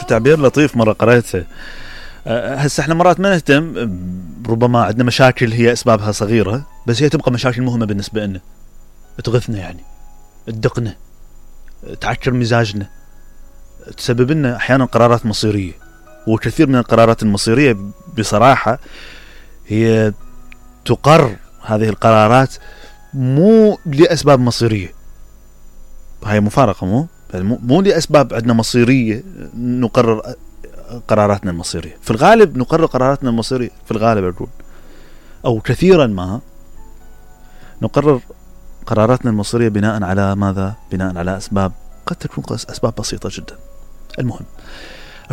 تعبير لطيف مرة قرأته. هسه احنا مرات ما نهتم، ربما عندنا مشاكل هي اسبابها صغيرة بس هي تبقى مشاكل مهمة بالنسبة لنا، تغثنا يعني، تدقنا، تعكر مزاجنا، تسبب لنا احيانا قرارات مصيرية. وكثير من القرارات المصيرية بصراحة هي تقر هذه القرارات مو لأسباب مصيرية، هاي مفارقة، مو لأسباب عندنا مصيرية نقرر قراراتنا المصيرية. في الغالب نقرر قراراتنا المصيرية، في الغالب أقول، أو كثيرا ما نقرر قراراتنا المصيرية بناء على ماذا؟ بناء على أسباب قد تكون أسباب بسيطة جدا. المهم،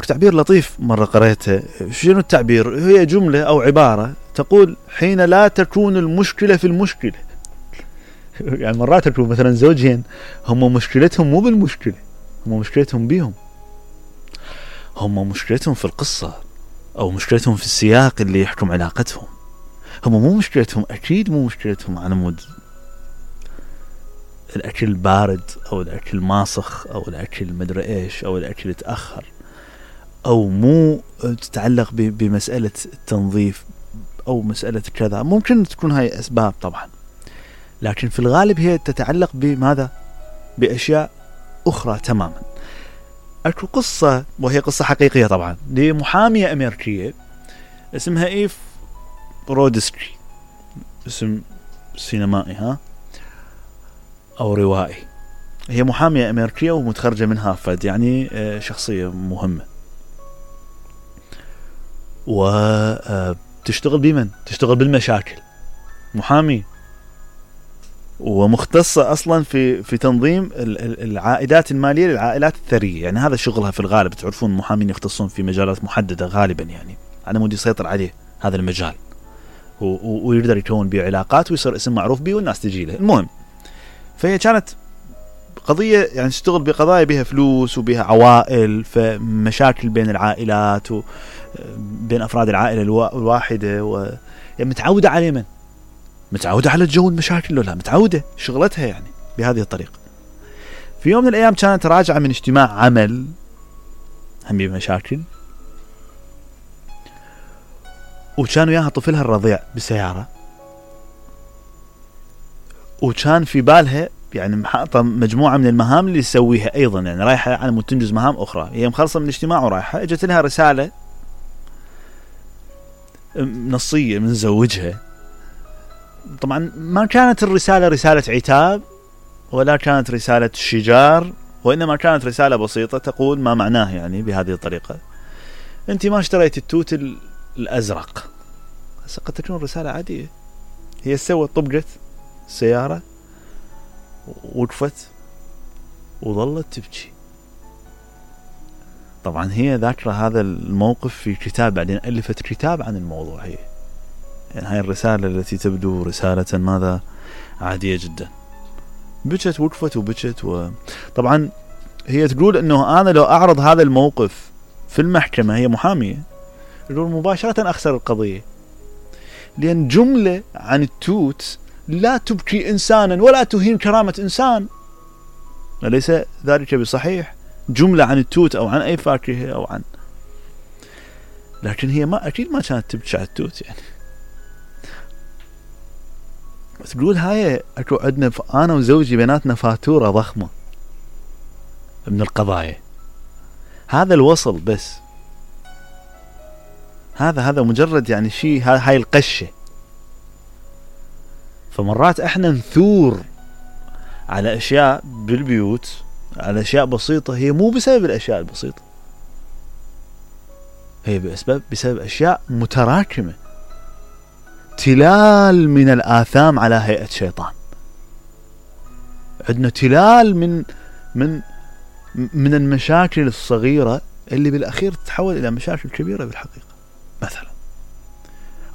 تعبير لطيف مرة قرأته. شنو التعبير؟ هي جملة أو عبارة تقول حين لا تكون المشكلة في المشكلة. يعني مرات تكون مثلا زوجين هم مشكلتهم مو بالمشكلة، هم مشكلتهم بيهم، هم مشكلتهم في القصة أو مشكلتهم في السياق اللي يحكم علاقتهم. هم مو مشكلتهم، أكيد مو مشكلتهم على مود الأكل بارد أو الأكل ماسخ أو الأكل مدري إيش أو الأكل تأخر، أو مو تتعلق بمسألة التنظيف أو مسألة كذا. ممكن تكون هاي أسباب طبعا، لكن في الغالب هي تتعلق بماذا؟ بأشياء أخرى تماما. أكو قصة، وهي قصة حقيقية طبعا، لمحامية أمريكية اسمها إيف برودسكي، اسم سينمائي أو روائي. هي محامية أمريكية ومتخرجة من هارفارد، يعني شخصية مهمة، وتشتغل بمن؟ تشتغل بالمشاكل، محامي ومختصة أصلا في تنظيم العائدات المالية للعائلات الثرية. يعني هذا شغلها في الغالب. تعرفون المحامين يختصون في مجالات محددة غالبا، يعني على مود يسيطر عليه هذا المجال ويقدر يكون بيه علاقات ويصير اسم معروف بيه والناس تجي له. المهم، فهي كانت قضية يعني تشتغل بقضايا بها فلوس وبها عوائل، فمشاكل بين العائلات وبين أفراد العائلة الواحدة، يعني متعودة على من؟ متعودة على الجو المشاكل، لا متعودة شغلتها يعني بهذه الطريقة. في يوم من الأيام كانت راجعة من اجتماع عمل هم بمشاكل، وكان وياها طفلها الرضيع بالسيارة، وكان في بالها يعني محاطة مجموعة من المهام اللي تسويها أيضا، يعني رايحة على مود تنجز مهام أخرى. هي مخلصة من الاجتماع ورايحة، اجت لها رسالة نصية من زوجها. طبعا ما كانت الرسالة رسالة عتاب ولا كانت رسالة شجار، وإنما كانت رسالة بسيطة تقول ما معناه يعني بهذه الطريقة: أنت ما اشتريت التوت الأزرق. قد تكون رسالة عادية. هي سوت طبقت السيارة، وقفت وظلت تبكي. طبعا هي ذاكرة هذا الموقف في كتاب، بعدين ألفت كتاب عن الموضوع. هي يعني هاي الرسالة التي تبدو رسالة ماذا؟ عادية جدا. بكت، وقفت وبكت. طبعا هي تقول انه انا لو اعرض هذا الموقف في المحكمة، هي محامية، تقول مباشرة اخسر القضية، لان جملة عن التوت لا تبكي انسانا ولا تهين كرامة انسان، أليس ذلك بصحيح؟ جملة عن التوت او عن اي فاكهة او عن، لكن هي ما اكيد ما كانت تبكي على التوت يعني. تقول هاي اكو عندنا انا وزوجي بيناتنا فاتورة ضخمة من القضايا، هذا الوصل بس، هذا مجرد يعني شيء، هاي القشة. فمرات احنا نثور على اشياء بالبيوت، على اشياء بسيطة، هي مو بسبب الاشياء البسيطة، هي بسبب اشياء متراكمة، تلال من الآثام على هيئة شيطان. عندنا تلال من المشاكل الصغيرة اللي بالأخير تتحول إلى مشاكل كبيرة بالحقيقة مثلا.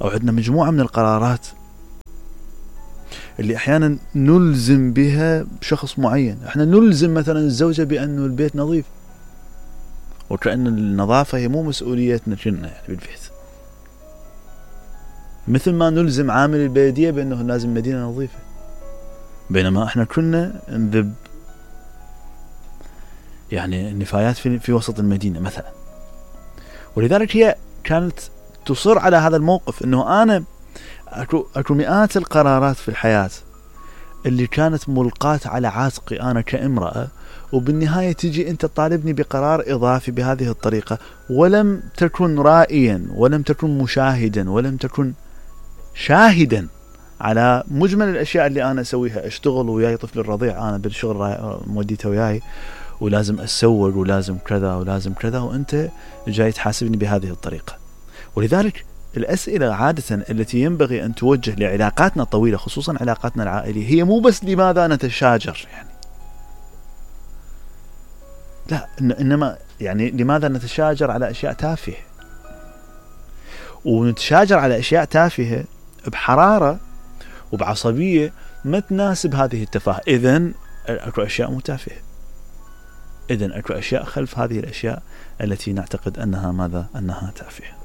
أو عندنا مجموعة من القرارات اللي أحيانا نلزم بها شخص معين. احنا نلزم مثلا الزوجة بأنه البيت نظيف، وكأن النظافة هي مو مسؤوليتنا كنا يعني بالبيت، مثل ما نلزم عامل البلدية بأنه لازم مدينة نظيفة، بينما احنا كنا نذب يعني النفايات في وسط المدينة مثلا. ولذلك هي كانت تصر على هذا الموقف، انه انا اكو مئات القرارات في الحياة اللي كانت ملقاة على عاتقي انا كامرأة، وبالنهاية تجي انت تطالبني بقرار اضافي بهذه الطريقة، ولم تكن رائيا، ولم تكن مشاهدا، ولم تكن شاهدا على مجمل الاشياء اللي انا اسويها. اشتغل وياي طفل الرضيع، انا بالشغل موديته وياي، ولازم اسوق، ولازم كذا ولازم كذا، وانت جاي تحاسبني بهذه الطريقة. ولذلك الأسئلة عادة التي ينبغي أن توجه لعلاقاتنا الطويلة، خصوصا علاقاتنا العائلية، هي مو بس لماذا نتشاجر يعني، لا، إنما يعني لماذا نتشاجر على أشياء تافهة، ونتشاجر على أشياء تافهة بحرارة وبعصبية ما تناسب هذه التفاهة. إذن أكو أشياء متافهة، إذن أكو أشياء خلف هذه الأشياء التي نعتقد أنها ماذا؟ أنها تافهة.